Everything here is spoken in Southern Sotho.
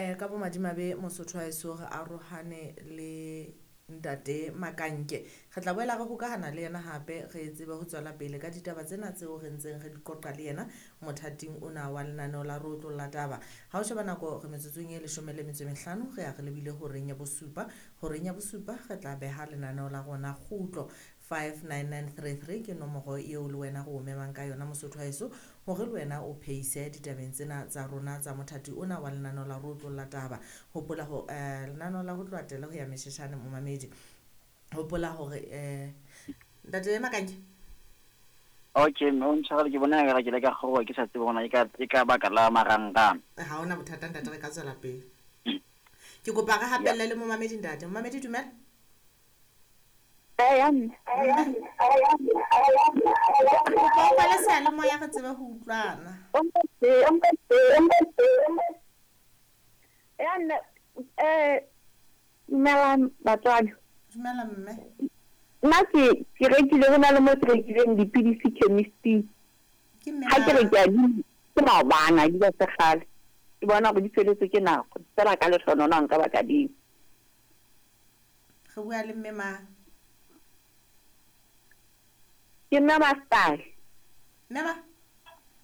Ka bomadimabe Mosotho wa heso re arohane le ntate Makanke. Re tla boela re hokahana le yena hape re tsebe ho tswela pele ka ditaba tsena tseo re ntseng re di qoqa le yena mothating ona wa lenaneo la Re Otlolla Taba. Ha o sheba nako re metsotsong e leshome le metso e mehlano re ya re lebile horeng ya bosupa. Horeng ya bosupa re tla beha lenaneo la rona kgutlo. 59933 ke nomoro eo le wena re o memang ka yona Mosotho wa heso hore le wena o phehise ditabeng tsena tsa rona tsa mothati ona wa lenaneo la Re Otlolla Taba. Hopola ho lenaneo la ho tloha tele ho ya mesheshane momamedi. Hopola hore ntate Makanke. Okay, mme o ntshwarele ke bona ekare ke ile ka kgaoha ke sa tsebe hore na ke ka baka la marangrang. Ha hona bothata ntate re ka tswela pele. Ke kopa re hapelle le momamedi ntate. Momamedi dumela. Eya mme. Kopa o kwale seyalemoya re tsebe ho utlwana. Ya nne dumelang batswadi. Dumela mme. Nna ke ke rekile ho na le mo ke rekileng dipidisi chemist-ing. Ke mme Ha ke re mang? ke a di ke maobane ha di ba se kgale. Ke bona hore di feletswe ke nako. Feela ka lehlohonolo ha nka ba ka di. Re bua le mme mang? Ke mme Mastyle. Mme mang?